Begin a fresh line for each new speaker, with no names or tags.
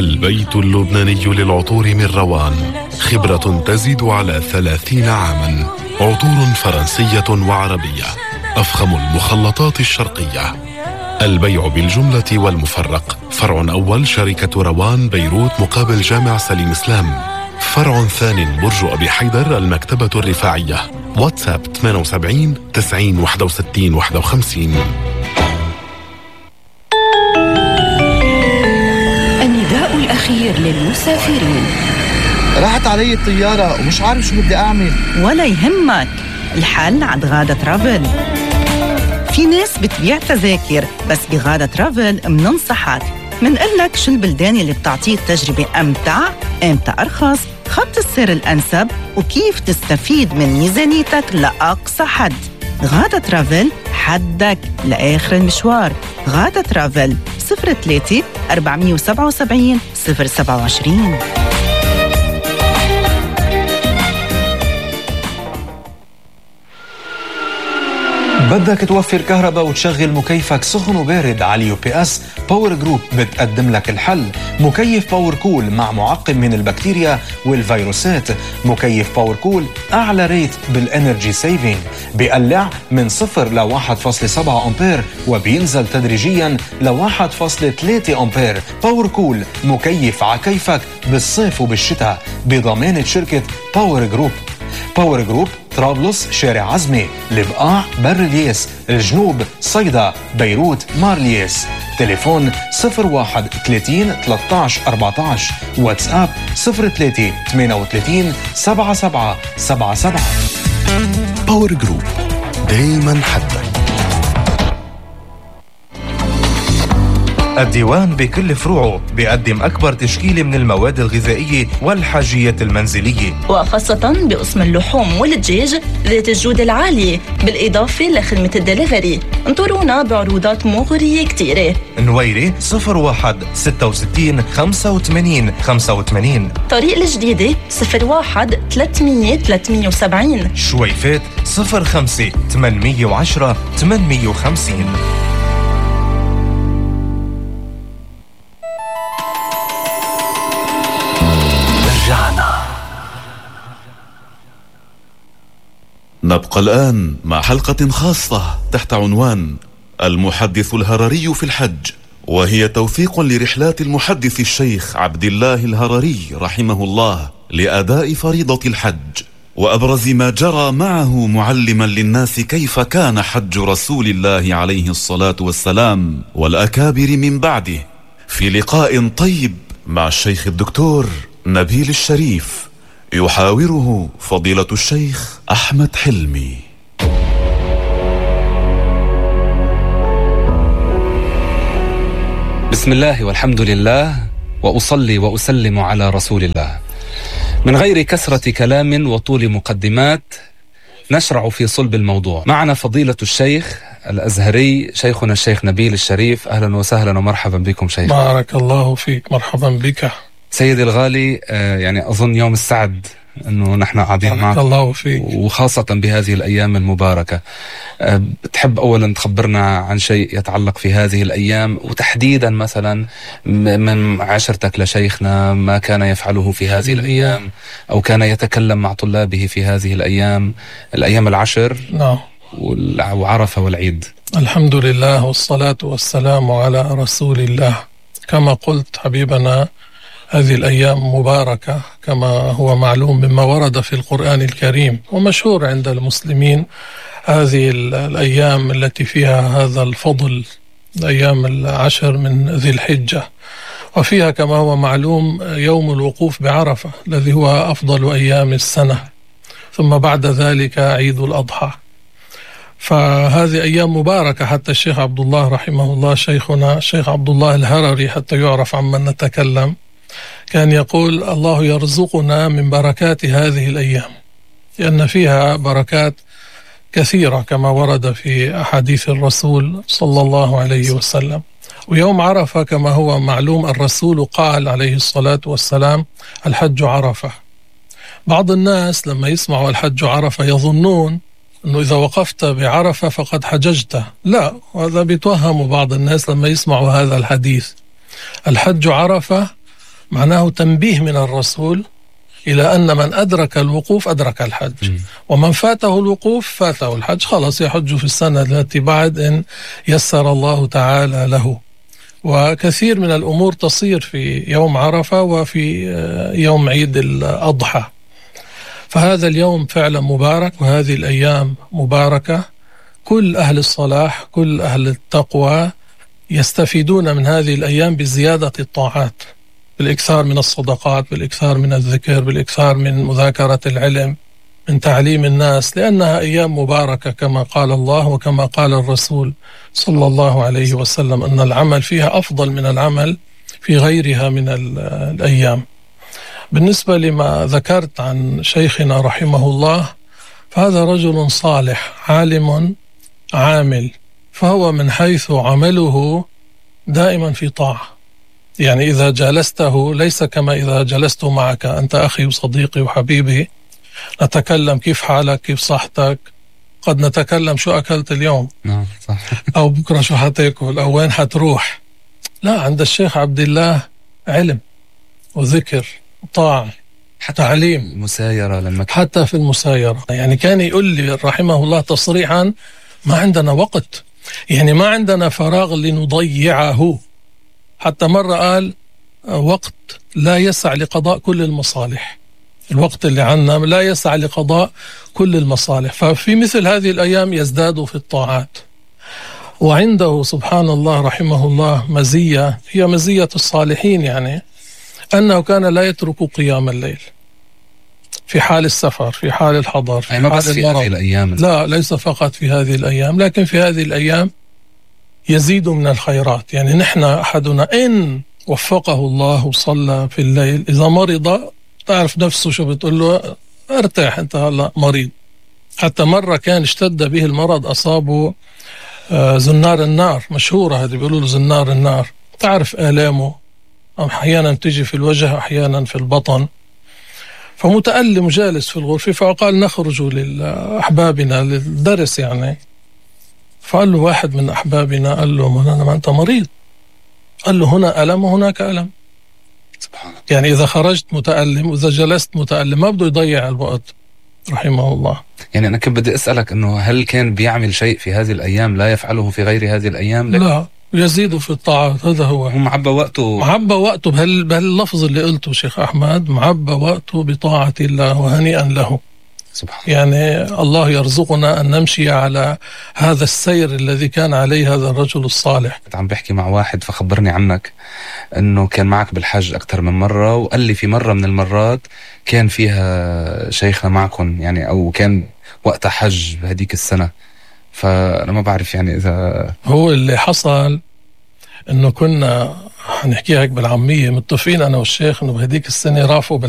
البيت اللبناني للعطور من روان، خبرة تزيد على 30 عاما. عطور فرنسية وعربية، أفخم المخلطات الشرقية. البيع بالجملة والمفرق. فرع أول شركة روان بيروت مقابل جامع سليم إسلام. فرع ثاني برج أبي حيدر المكتبة الرفاعية. واتساب 78 90 61 51.
النداء الأخير للمسافرين.
راحت علي الطيارة ومش عارف شو بدي أعمل.
ولا يهمك، الحل عند غادة ترافل. في ناس بتبيع تذاكر، بس بغادة ترافل مننصحك، منقلك شو البلدان اللي بتعطيك تجربة أمتع، أمتى أرخص، خط السير الأنسب، وكيف تستفيد من ميزانيتك لأقصى حد. غادة ترافل، حدك لآخر المشوار. غادة ترافل 03 477 027.
بدك توفر كهرباء وتشغل مكيفك سخن وبارد على UPS؟ باور جروب بتقدم لك الحل. مكيف باور كول مع معقم من البكتيريا والفيروسات. مكيف باور كول أعلى ريت بالإنرجي سيفينج، بيقلع من 0 ل 1.7 أمبير وبينزل تدريجيا ل 1.3 أمبير. باور كول مكيف عكيفك بالصيف وبالشتاء بضمانة شركة باور جروب. باور جروب طرابلس، شارع عزمي، البقاع، بر الياس، الجنوب، صيدا، بيروت، مارلياس. تليفون 01 30 13 14. واتساب 03 38 77 77.
باور جروب، دايما حدك.
الديوان بكل فروعه بيقدم أكبر تشكيلة من المواد الغذائية والحاجية المنزلية،
وخاصة بقسم اللحوم والدجاج ذات الجودة العالية، بالإضافة لخدمة الدليفري. انطرونا بعروضات مغرية كتيرة.
نويري 01 66 85 85.
طريق الجديدة 01 300 370.
شويفات 05 810 850.
نبقى الآن مع حلقة خاصة تحت عنوان المحدث الهرري في الحج، وهي توثيق لرحلات المحدث الشيخ عبد الله الهرري رحمه الله لأداء فريضة الحج، وأبرز ما جرى معه معلما للناس كيف كان حج رسول الله عليه الصلاة والسلام والأكابر من بعده، في لقاء طيب مع الشيخ الدكتور نبيل الشريف يحاوره فضيلة الشيخ أحمد حلمي.
بسم الله والحمد لله، وأصلي وأسلم على رسول الله. من غير كثرة كلام وطول مقدمات نشرع في صلب الموضوع. معنا فضيلة الشيخ الأزهري شيخنا الشيخ نبيل الشريف. أهلا وسهلا ومرحبا بكم شيخ.
بارك الله فيك، مرحبا بك
سيدي الغالي. يعني أظن يوم السعد أنه نحن قاعدين معك،
الله فيك،
وخاصة بهذه الأيام المباركة. بتحب أولا تخبرنا عن شيء يتعلق في هذه الأيام، وتحديدا مثلا من عشرتك لشيخنا ما كان يفعله في هذه الأيام، أو كان يتكلم مع طلابه في هذه الأيام العشر.
نعم.
وعرفة والعيد.
الحمد لله والصلاة والسلام على رسول الله. كما قلت حبيبنا، هذه الأيام مباركة كما هو معلوم مما ورد في القرآن الكريم، ومشهور عند المسلمين هذه الأيام التي فيها هذا الفضل، أيام العشر من ذي الحجة، وفيها كما هو معلوم يوم الوقوف بعرفة الذي هو أفضل أيام السنة، ثم بعد ذلك عيد الأضحى. فهذه أيام مباركة. حتى الشيخ عبد الله رحمه الله، شيخنا الشيخ عبد الله الهرري، حتى يعرف عمن نتكلم، كان يقول: الله يرزقنا من بركات هذه الأيام، لأن فيها بركات كثيرة كما ورد في أحاديث الرسول صلى الله عليه وسلم. ويوم عرفة كما هو معلوم الرسول قال عليه الصلاة والسلام: الحج عرفة. بعض الناس لما يسمعوا الحج عرفة يظنون أنه إذا وقفت بعرفة فقد حججت. لا، هذا بيتوهم بعض الناس لما يسمعوا هذا الحديث. الحج عرفة معناه تنبيه من الرسول إلى أن من أدرك الوقوف أدرك الحج، ومن فاته الوقوف فاته الحج، خلاص يحج في السنة التي بعد إن يسر الله تعالى له. وكثير من الأمور تصير في يوم عرفة وفي يوم عيد الأضحى. فهذا اليوم فعلا مبارك، وهذه الأيام مباركة. كل أهل الصلاح، كل أهل التقوى يستفيدون من هذه الأيام بزيادة الطاعات، بالإكثار من الصدقات، بالإكثار من الذكر، بالإكثار من مذاكرة العلم، من تعليم الناس، لأنها أيام مباركة كما قال الله وكما قال الرسول صلى الله عليه وسلم أن العمل فيها أفضل من العمل في غيرها من الأيام. بالنسبة لما ذكرت عن شيخنا رحمه الله، فهذا رجل صالح عالم عامل، فهو من حيث عمله دائما في طاعة. يعني إذا جالسته ليس كما إذا جلست معك، أنت أخي وصديقي وحبيبي، نتكلم كيف حالك، كيف صحتك، قد نتكلم شو أكلت اليوم
صح.
أو بكرة شو حتاكل أو وين حتروح. لا، عند الشيخ عبد الله علم وذكر وطاعة، تعليم،
مسايرة لما
حتى في المسايرة. يعني كان يقول لي رحمه الله تصريحا: ما عندنا وقت، يعني ما عندنا فراغ لنضيعه. حتى مرة قال: وقت لا يسع لقضاء كل المصالح، الوقت اللي عنا لا يسع لقضاء كل المصالح. ففي مثل هذه الأيام يزداد في الطاعات. وعنده سبحان الله رحمه الله مزية، هي مزية الصالحين، يعني أنه كان لا يترك قيام الليل في حال السفر، في حال الحضر، في
ما
حال
بس في هذه الأيام.
لا، ليس فقط في هذه الأيام، لكن في هذه الأيام يزيد من الخيرات. يعني نحن أحدنا إن وفقه الله وصلى في الليل، إذا مرض تعرف نفسه شو بتقول له: ارتاح أنت هلأ مريض. حتى مرة كان اشتد به المرض، أصابه زنار النار، مشهورة هذه، بيقولوا له زنار النار. تعرف آلامه أحيانا تجي في الوجه، أحيانا في البطن، فمتألم جالس في الغرفة. فقال: نخرج لأحبابنا للدرس يعني. فقال له واحد من أحبابنا، قال له: ما أنت مريض. قال له: هنا ألم وهناك ألم.
سبحان الله.
يعني إذا خرجت متألم وإذا جلست متألم، ما بده يضيع الوقت رحمه الله.
يعني أنا كنت بدي أسألك أنه هل كان بيعمل شيء في هذه الأيام لا يفعله في غير هذه الأيام؟
لا، يزيد في الطاعات. هذا هو
معبى وقته،
معبى وقته بهاللفظ اللي قلته شيخ أحمد، معبى وقته بطاعة الله، وهنيئا له.
سبحان
يعني الله يرزقنا أن نمشي على هذا السير الذي كان عليه هذا الرجل الصالح.
كنت عم بحكي مع واحد فخبرني عنك أنه كان معك بالحج أكثر من مرة، وقال لي في مرة من المرات كان فيها شيخنا معكم، يعني أو كان وقت حج بهديك السنة. فأنا ما بعرف يعني إذا
هو اللي حصل أنه كنا هنحكيها هيك بالعامية، متفقين أنا والشيخ أنه بهديك السنة رافقوا